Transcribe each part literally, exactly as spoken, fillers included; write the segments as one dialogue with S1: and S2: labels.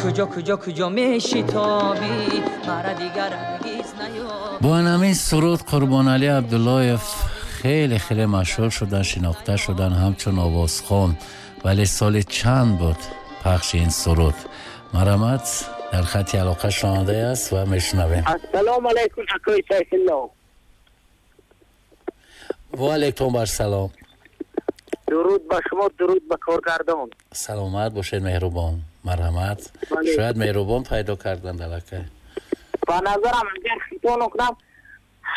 S1: Куҷо куҷо куҷо мешитобӣ, маро дигар ҳаргиз наёбӣ.
S2: Бо ҳамин суруд Қурбоналӣ Абдуллоев хеле хеле машҳур шудан, шинохта шудан ҳамчун овозхон. Вале соли чанд буд пахши ин суруд? Марҳамат, дар хати алоқа шунаванда аст ва мешунавем.
S3: Ассалому алайкум, акои Сайфулло.
S2: Ва алайкум ассалом.
S3: Дуруд ба шумо, дуруд ба коргардон.
S2: Саломат бошед, меҳрубон. Марҳамат. Шояд меҳрубон пайдо карданд аллакай.
S3: Ба назарам агар хато накунам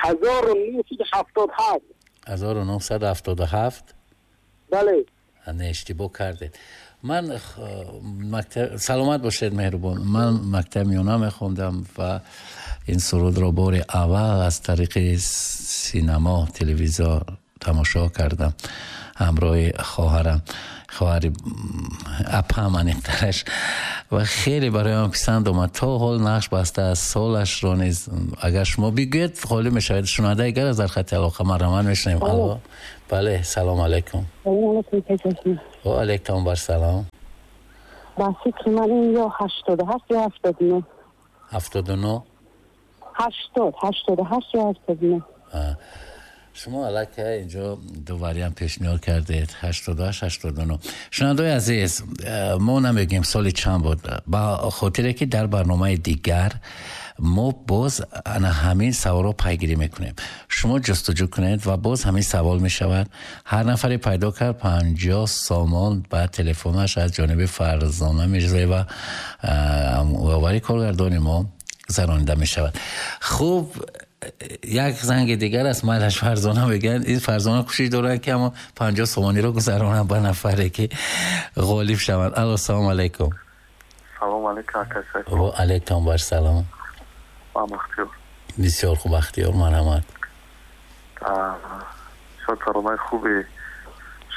S3: ҳазору нӯҳсаду ҳафтоду ҳафт.
S2: ҳазору нӯҳсаду ҳафтоду ҳафт?
S3: Бале.
S2: Не, иштибоҳ кардед. Ман мактаб... Саломат бошед, меҳрубон. Ман мактаб миёна мехондам ва ин сурудро бори аввал аз тариқи синемо, телевизор тамошо кардам ҳамроҳи хоҳарам, хоҳари апам аниқтараш, ва хеле барои ман писанд омад. То ҳол нақш баста аз солашро низ агар шумо бигӯед холӣ мешавед. Шунавандаи гар аз дар хати алоқа, марҳамат, мешунавем. Алло, бале, салом алайкум. Ва алайкум ассалом.
S4: Ба фикри ман ин ё ҳаштоду ҳафт ё ҳафтоду нӯҳ.
S2: Ҳафтоду нӯҳ?
S4: Ҳаштод, ҳаштоду ҳашт ё ҳафтоду нӯҳ.
S2: Шумо аллакай инҷо ду вариант пешниҳод кардед, ҳаштоду ҳашт, ҳаштоду нӯҳ. Шунавандаои азиз, мо намегӯем соли чанд буд, ба хотире ки дар барномаи дигар мо боз ана ҳамин саволро пайгирӣ мекунем. Шумо ҷустуҷӯ кунед ва боз ҳамин савол мешавад. Ҳар нафаре пайдо кард панҷоҳ сомон ба телефонаш аз ҷониби Фарзона Мирзоева, овари коргардони мо, гузаронида мешавад. Хуб, як занги дигар аст, майлаш Фарзона мегӯянд. Ин Фарзона кӯшиш доранд ки ҳамон панҷоҳ сомониро гузаронанд ба нафаре ки ғолиб шаванд. Алло, салом алайкум.
S5: Салом алайкум, ака Сайфулло.
S2: Ва алайкум ассалом.
S5: Ман Бахтиёр.
S2: Бисёр хуб, Бахтиёр, марҳамат.
S5: Шод таронаи хуби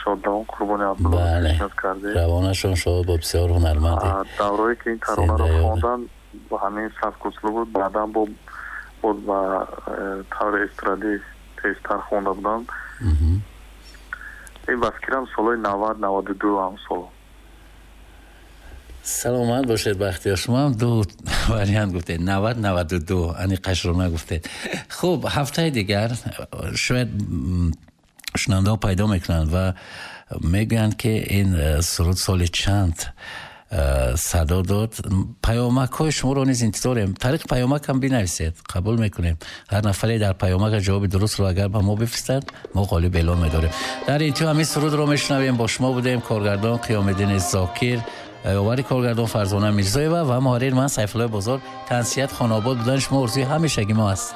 S5: Шодравон Қурбони Абдуллоев пешниҳод кардед.
S2: Равонашон шод бо бисёр ҳунарманде.
S5: Даврое ки ин таронаро хондан бо ҳамин сабку услуб буд, баъдан бо боз ба таври эстрадӣ тезтар хонда буданд. Ин ба фикрам солҳои навад, наваду ду ҳам сол.
S2: Саломат бошед, Бахтиёр. Шумо ҳам ду вариант гуфтед, навад, наваду ду, аниқашро нагуфтед. Хуб, ҳафтаи дигар шояд шунавандаҳо пайдо мекунанд ва мегӯянд ки ин суруд соли чанд садо дод. Паёмакҳои шуморо низ интизорем. Тариқи паёмак ҳам бинависед, қабул мекунем. Ҳар нафаре дар паёмак ҷавоби дурустро агар ба мо бифиристад, мо ғолиб эълон медорем. Дар интиҳо ҳамин сурудро мешунавем. Бо шумо будем коргардон Қиёмиддин Зокир, овари коргардон Фарзона Мирзоева ва муҳаррир ман Сайфуллои Бозор. Тансиҳат, хонобод будани шумо орзуи ҳамешагӣ мо аст.